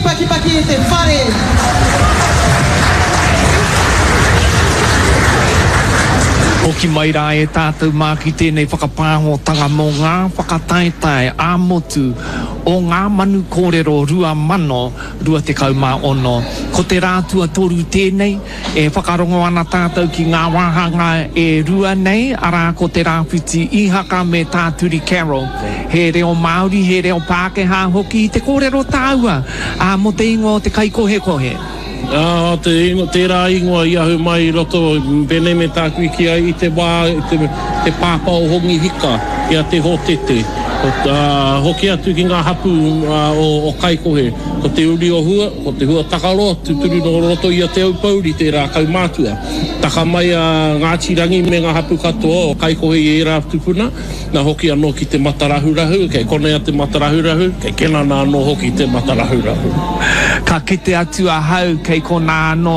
Tūpakipaki e te whare. Hoki mai rā e tātou mā ki tēnei whakapāhotanga mō ngā whakataetae ā-motu o Ngā Manu Kōrero 2026. Ko te rā tuatoru tēnei, e whakarongo ana tātou ki ngā wāhanga e rua nei, arā ko Te Rāwhiti Ihaka me Tā Turi Carroll. He reo Māori, he reo Pākehā hoki i te kōrero tāua, ā, mō te ingoa o te kaikohekohe. Ā, te ingoa, tērā ingoa i ahu mai i roto, pēnei me tāku i kī ai, i te wā, i te, te pāpā o Hongi Hika, i a Te Hōtete. Ā, hoki atu ki ngā hapū, ā, o, o Kaikohe, ko Te Uri o Hua, ko Te Hua Takaroa, tūturu nō roto i a Te Aupōuri tērā kaumātua. Taka mai a Ngāti Rangi me ngā hapū katoa o Kaikohe i ērā tupuna. Na hoki anō ki te matarahurahu, kei konei a te matarahurahu, kei Kenana anō hoki te matarahurahu. Ka kite atu ahau kei konā anō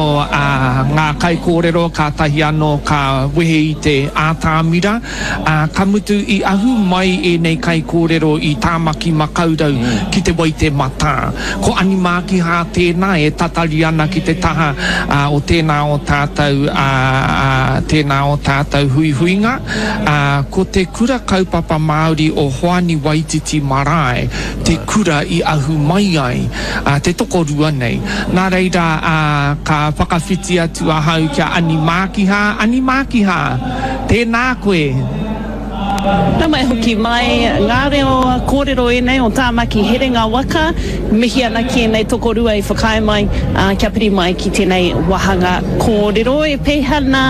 ngā kaikōrero kātahi anō ka wehe i te ātamira, ā, ka mutu i ahu mai ēnei kaikōrero i Tāmaki Makaurau ki Te Waitematā. Ko Ani Mākihā tēnā e tatari ana ki te taha o tēnā o tātou, ā, tēnā o tātou huihuinga. Ā, ko te Kura Kaupapa Māori o Hoani Waititi Marae te kura i ahu mai ai te tokorua nei. Nā reira, ā, ka whakawhiti atu ahau ki a Ani Mākihā. Ani Mākihā, tēnā koe. Nau mai hoki mai ngā reo kōrero ēnei o Tāmaki Herenga Waka. Mihi ana ki ēnei tokorua i whakaae mai kia piri mai ki tēnei wāhanga kōrero. E pēhea nā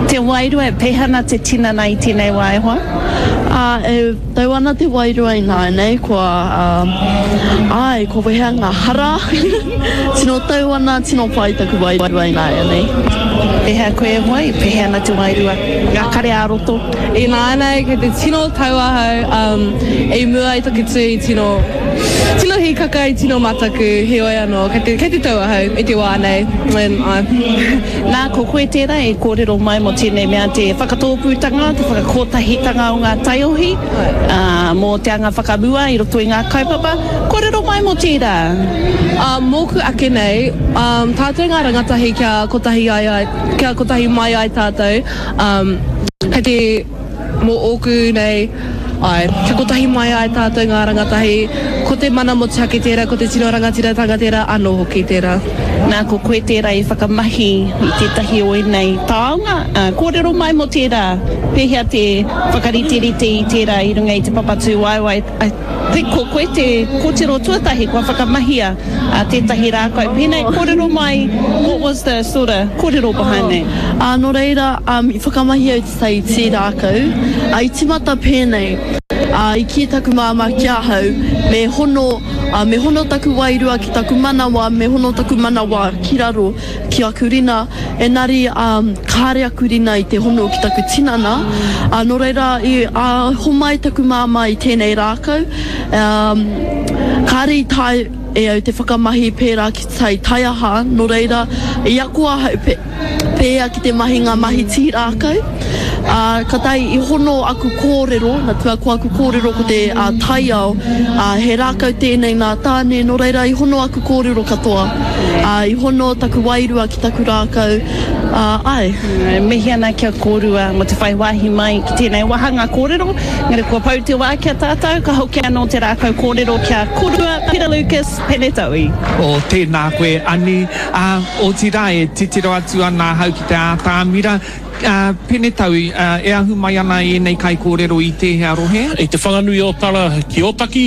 Te wairua, e pēhea ana te tinana i tēnei wā e hoa? Ā, e tau ana te wairua ināianei, kua, ā, āe, kua wehea ngā hara. Tino tau ana, tino pai taku wairua ināianei. Pēhea koe e hoa, e pēhea ana te wairua, ngā kare ā-roto? Ināianei, kei te tino tau ahau, um, i mua i taku tū i tino, tino hīkaka, i tino mataku, heoi anō, kei te, kei te tau ahau i te wā nei, and, āe. Nā, ko koe tērā e kōrero mai mō tēnei mea te whakatōpūtanga, te whakakotahitanga o ngā taiohi, ā, mō te anga whakamua i roto i ngā kaupapa. Kōrero mai mō tērā. Ā, mōku ake nei, ā, tātou ngā rangatahi kia kotahi ai ai, kia kotahi mai ai tātou, ā, kei te. Mō ōku nei, āe, kia kotahi mai ai tātou ngā rangatahi, ko te mana motuhake tērā, ko te tino rangatiratanga tērā anō hoki tērā. Nā, ko koe tērā i whakamahi i tētahi o ēnei taonga, ā, kōrero mai mō tērā, pēhea te whakariterite i tērā i runga i te papa tūwaewae, I think ko koe te kōtiro tuatahi kua whakamahia tētahi rākau pēnei, kōrero mai, what was the sort of kōrero behind that? Ā, nō reira, i whakamahi au te tī rākau, ā, i tīmata pēnei, ā, i kī taku māmā ki ahau, me hono, ā, me hono taku wairua ki taku manawa, me hono taku manawa ki raro, ki aku rina, Engari, ā, kāre aku rina i te hono ki taku tinana, ā, nō reira, i, ā, homai taku māmā i tēnei rākau, ā, kāre i taea e au te whakamahi pērā ki tai taiaha, nō reira, i ako ahau pē, pēhea ki te mahi ngā mahi tī rākau, ā, kātahi i hono aku kōrero, nā te mea ko aku kōrero ko te, ā, taiao, ā, he rākau tēnei nā Tāne, nō reira, i hono aku kōrero katoa. Ā, i hono taku wairua ki taku rākau, ā, āe. E mihi ana ki a kōrua mō te whai wāhi mai ki tēnei wāhanga kōrero. Engari kua pau te wā ki a tātou, ka hoki anō te rākau kōrero ki a kōrua, Peter Lucas, Pene Taui. O, tēnā koe, Ani. Ā, otirā, e titiro atu ana ahau ki te ātamira. Ā, Pene Taui, ā, e ahu mai ana ēnei kaikōrero i tēhea rohe? I Te Whanganui-o-Tara ki Ōtaki.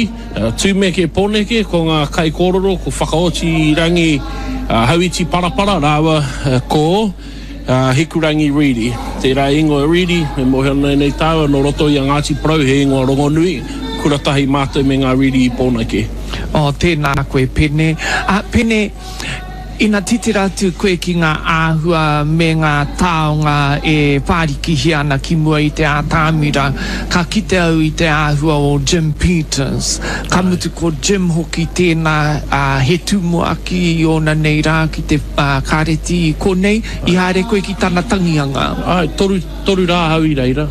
Tumeke Poneke, ko ngā kaikōrero, ko Whakaoti Rangi Hauiti Parapara rāua ko Hikurangi Reedy. Tērā ingoa Reedy, e mōhio ana nei tāua, nō roto i a Ngāti Porou, he ingoa rongonui, kura tahi mātou me ngā Reedy i Pōneke. Oh, tēnā koe Pene. Pene, Ina titiro atu koe ki ngā āhua me ngā taonga e whārikihia ana ki mua i te ātamira, ka kite au i te āhua o Jim Peters. Ka mutu ko Jim hoki tēnā, ā, he tumuaki i ōna nei rā ki te kāreti i konei, i haere koe ki tana tangihanga. Āe, toru, toru rā ahau i reira.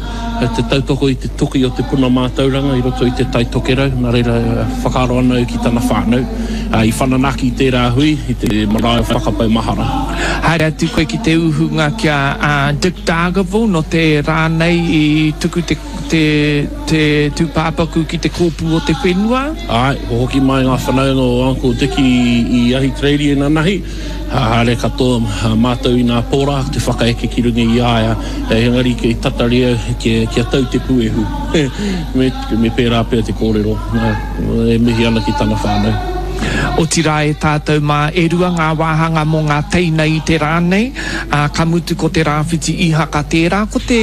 te tautoko i te toki o te puna mātauranga i roto i te Tai Tokerau, nā reira whakaaro ana au ki tana whānau. I whananaki tērā hui i te marae o Whakapau Mahara. Haere atu koe ki te uhunga ki a Dick Dargaville nō te rā nei i tuku te te te tūpāpaku ki te kōpū o te whenua. Āe, kua hoki mai ngā whanaunga o Uncle Dickie i Ahitereiria inanahi. Haere katoa mātou inā pō rā te whakaeke ki runga i a ia, engari kei tatari au kia tau te puehu. Me pērā pea te kōrero, e mihi ana ki tana whānau. Otirā e tātou mā, e rua ngā wāhanga mō ngā teina i te rā nei, ā, ka mutu ko te Rāwhiti Ihaka tērā, ko te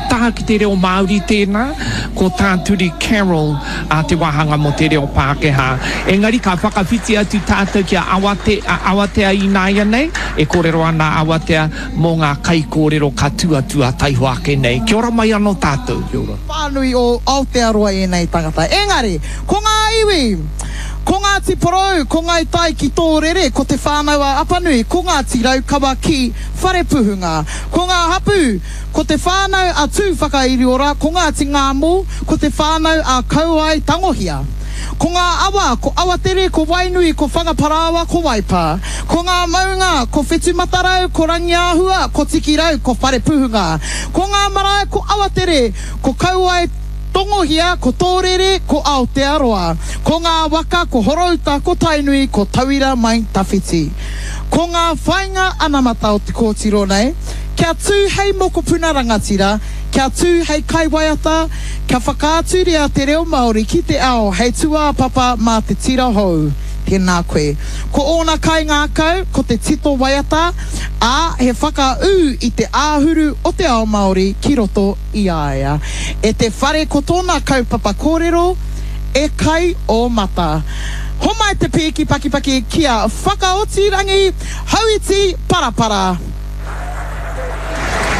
taha ki te reo Māori tēnā, ko tā Turi Carroll ā te wāhanga mō te reo Pākehā. Engari ka whakawhiti atu tātou ki a Awate, a Awatea ināianei, e kōrero ana a Awatea mō ngā kaikōrero ka tū atu a taihoa ake nei. Kia ora mai anō tātou. Kia ora. Whānui o Aotearoa ēnei tangata. Engari, ko ngā iwi, ko Ngāti Porou, ko Ngāi Tai ki Tōrere, ko Te Whānau-a-Apanui, ko Ngāti Raukawa ki Wharepuhunga. Ko ngā hapū, Ko Te Whānau a Tūwhakairiora, ko Ngāti Ngāmō, ko Te Whānau a Kauae Tangohia. Ko ngā awa, ko Awatere, ko Wainui, ko Whangaparāoa, ko Waipā. Ko ngā maunga, ko Whetumatarau, ko Rangiāhua, ko Tikirau, ko Wharepuhunga. Ko ngā marae, ko Awatere, ko Kauae Tongohia, ko Tōrere, ko Aotearoa. Ko ngā waka, ko Horouta, ko Tainui, ko Tauira mai Tawhiti. Ko ngā whainga anamata o te kōtiro nei, kia tū hei mokopuna rangatira, kia tū hei kaiwaiata, kia whakaaturia te reo Māori ki te ao hei tūāpapa mā te tira hou. Tēnā koe. Ko ōna kaingākau, ko te tito waiata, ā, he whakaū i te āhuru o te ao Māori ki roto i a ia. E te whare ko tōna kaupapa kōrero, E kai ō mata. Homai te pīki pakipaki ki a Whakaotirangi Hauiti Parapara.